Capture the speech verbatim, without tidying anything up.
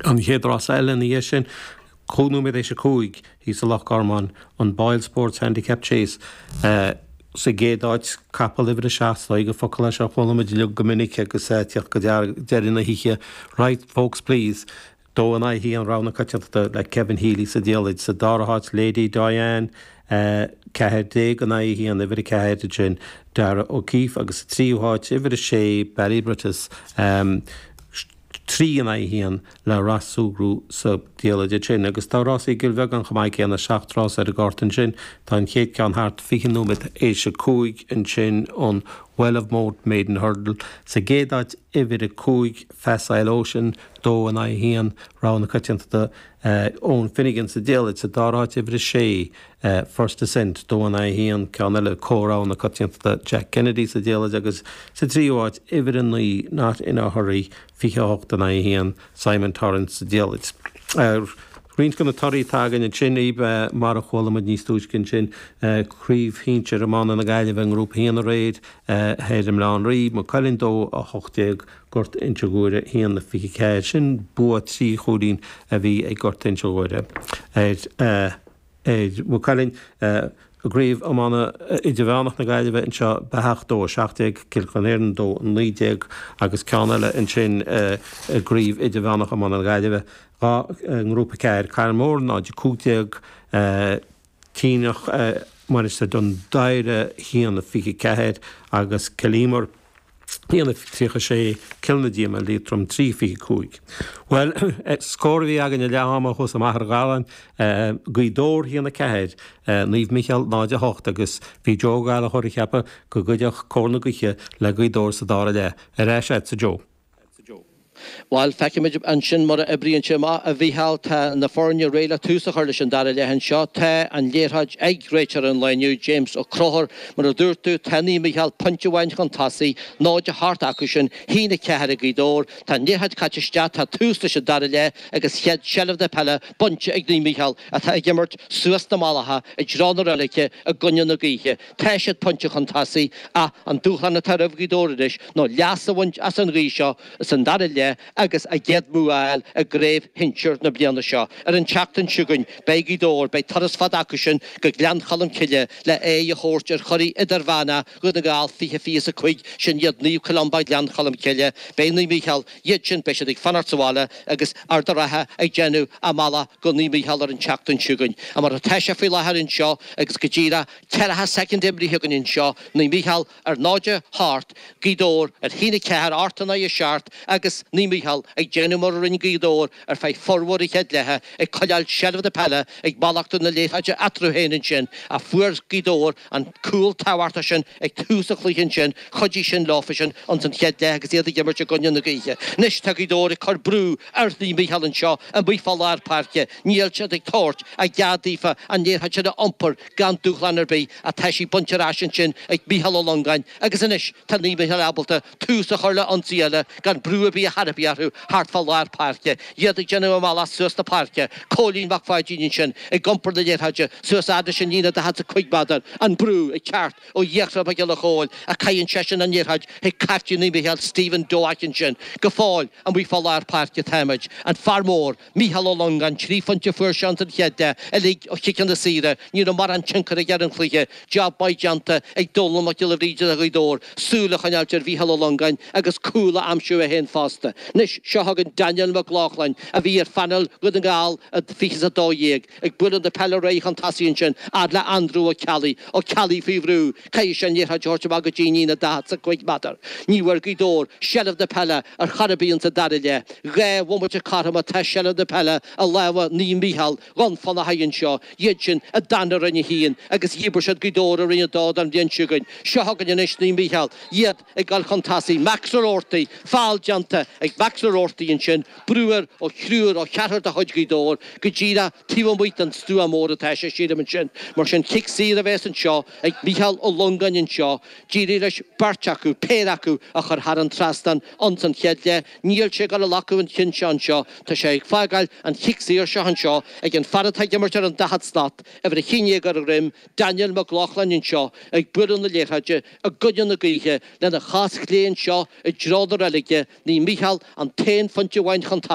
An chéad rás eile ina dhiaidh sin, cúig nóiméad théis a cúig, thíos i Loch Garman, an Boyle Sports Handicap Chase. Sa gcéad áit, capall uimhir a seacht, is gur focal é seo a chuala muid uilig go minic agus ag teacht go deireadh na hoíche, Right Folks Please, dó in aghaidh a haon, rogha na coitiantachta le Kevin Healy sa diallait. Sa dara háit, Lady Diane, ceathair déag in aghaidh a haon, uimhir a ceathair ansin, Darragh O'Keeffe agus sa tríú háit, uimhir a sé, Ballybrittas, trí in aghaidh a haon le Ross Sugrue sa diallait ansin. Agus tá rásaí i gCill Bheagáin chomh maith céanna, seacht rás ar an gcárta ansin. Tá an chéad ceann thart fiche nóiméad théis a cúig ansin, an Well of Moate Maiden Hurdle. Sa gcéad áit, uimhir a cúig, Facile Ocean, dó in aghaidh a haon, rogha na coitiantachta, Eoin Finnegan sa diallait. Sa dara háit, uimhir a sé, First Ascent, dó in aghaidh a haon, ceann eile, comhrogha na coitiantachta, Jack Kennedy sa diallait agus sa tríú háit, uimhir a naoi, Not in a Hurry, fiche a hocht in aghaidh a haon, Simon Torrance sa diallait. Roinnt de na torthaí atá againn ansin, Aoibh, mar a chuala muid níos túisce ansin, Craobh Shinsir Iomána na Gaillimhe i nGrúpa a haon aréir thoir i mBaile Átha an Rí, Maigh Cuilinn dó a hocht déag, Gort Inse Guaire a haon a fiche ceathair. Sin bua trí chúilín a bhí ag Gort Inse Guaire ar ar Mhaigh Cuilinn. I gCraobh Iomána Idirmheánach na Gaillimhe anseo, Beathach dó a seacht déag, Cill Chonla dó a naoi déag agus ceann eile ansin i gCraobh Idirmheánach Iomána na Gaillimhe, dhá nGrúpa ceathair, Carn Mór náid a cúig déag, Tinneach, Mainistir Dún Doighre a haon a fiche ceathair agus Cill Íomair. a haon a tríocha sé, Cill na Díoma, Liatroim trí fiche cúig. Bhuel, scór a bhí againn ag leath ama thuas i Machaire Galláin, Gaoth Dobhair a haon a ceathair, Naomh Micheál náid a hocht agus bhí Joe Ó Gallchóir ag ceapadh go gcuideodh cóir na gaoithe le Gaoth Dobhair sa dara leath. Ar ais agatsa Joe. Bhuel, feicfimid ansin mar a oibríonn sé amach, a Mhícheáil. Tá na foirne réidh le tús a chur leis an dara leath anseo. Tá an liathróid ag réiteoir an lae inniu, James Ó Conchúir. Mar a dúirt tú, tá Naomh Mícheál pointe amháin chun tosaigh, náid a hocht acu sin, haon a ceathair ag Gaoth Dobhair. Tá an liathróid caite isteach, tá tús leis an dara leath agus chéad seilbh na peile bainte ag Naomh Mícheál atá ag imirt suas na Mallacha i dtreo na reilige i gcoinne na gaoithe. Tá siad pointe chun tosaigh ach an dúshlán atá roimh Ghaoth Dobhair anois ná leas a bhaint as an ghaoth seo san dara leath agus a gcéad bhua a fháil i gcraobh shinsir na bliana seo. Ar an tseachtain seo chugainn, beidh Gaoth Dobhair, beidh turas fada acu sin go Gleann Cholm Cille le aghaidh a thabhairt ar churaidh idirmheánach Dhún na nGall fiche fiche is a cúig, sin iad Naomh Columba Gleann Cholm Cille. Beidh Naomh Mícheál, iad sin, beidh siad ag fanacht sa bhaile agus Ard an Rátha ag déanamh a mbealach go Naomh Mícheál ar an tseachtain seo chugainn. Mar atá sé faoi láthair anseo agus go díreach ceathracha soicind imrithe againn anseo, Naomh Mícheál ar náid a hocht, Gaoth Dobhair ar haon a ceathair, ocht in aghaidh a seacht agus Naomh Mícheál ag déanamh mar a rinne Gaoth Dobhair ar feadh formhór an chéad leatha, ag coinneáil seilbh na peile, ag mallachtú na liathróide eatarthu féin ansin ach fuair Gaoth Dobhair an cúl tábhachtach sin ag tús an chluiche ansin, chuidigh sin leofa sin ins an chéad leath agus iad ag imirt i gcoinne na gaoithe. Anois tá Gaoth Dobhair ag cur brú ar Naomh Mícheál anseo amuigh fá lár páirce, níl siad ag tabhairt a gcead daofa an liathróid sin a iompar gan dúshlán ar bith ach tá sí bainte ar ais ansin ag Mícheál Ó Longáin agus anois tá Naomh Mícheál ábalta tús a chur le ionsaí eile gan brú ar bith ar chor ar bith orthu thart fá lár páirce. Iad ag déanamh a mbealach suas na páirce. Cóilín Mac Pháidín ansin ag iompar na liathróide suas fhad leis an líne daichead is a cúig méadar. An brú ag teacht ó Fhiachra Mac Giolla Chóill ach caitheann seisean an liathróid chuig caiftín Naomh Mícheál Stephen Doak ansin. Go fóill amuigh fá lár páirce táimid. An fear mór, Mícheál Ó Longáin, trí phointe a fuair sé ins an chéad leath, uilig ó chiceanna saora. Ní raibh mórán tionchar aige ar an chluiche. Job maith déanta ag Dónal Mac Giolla Bhríde do Ghaoth Dobhair, súil a choinneáilt ar Mhícheál Ó Longáin agus cúl a aimsiú é féin fosta. Anois, seo chugainn Daniel Mac Lochlainn, a bhí ar phainéal Dhún na nGall i fiche is a dó dhéag, ag bualadh na peile ar aghaidh chun tosaigh ansin, fhad le Andrew Ó Ceallaigh. Ó Ceallaigh faoi bhrú, caithfidh sé an liathróid a thabhairt amach go dtí an líne daichead is a cúig méadar. Ní bhfuair Gaoth Dobhair seilbh na peile ar chor ar bith ins an dara leath. Dhá bhomaite cothrom atá seilbh na peile i lámha Naomh Mícheál Dhún Fionnachaidh anseo, iad sin a d'fhan i Roinn a hAon agus dhíbir siad Gaoth Dobhair i Roinn a Dó don bhliain seo chugainn. Seo chugainn anois Naomh Mícheál, iad ag dul chun tosaigh. Max O'Roarty, feall déanta ag Max O'Roarty ansin, brú air ó thriúr, ó cheathrar de chuid Ghaoth Dobhair, go díreach taobh amuigh den stua mór atá sé, sílim ansin. Mar sin, cic saor a bheas anseo ag Mícheál Ó Longáin anseo. D'éirigh leis beirt acu, péire acu, a chur thar an trasnán ins an chéad leath. Níl sé ag dul a ghlacadh an chinn seo anseo. Tá sé ag fágáil an chic saor seo anseo ag an fear atá ag imirt ar an daichead slat, uimhir a haon déag ar a dhroim, Daniel Mac Lochlainn anseo ag bualadh na liathróide i gcoinne na gaoithe lena chos chlé anseo i dtreo na reilige. Naomh Mícheál an t-aon phointe amháin chun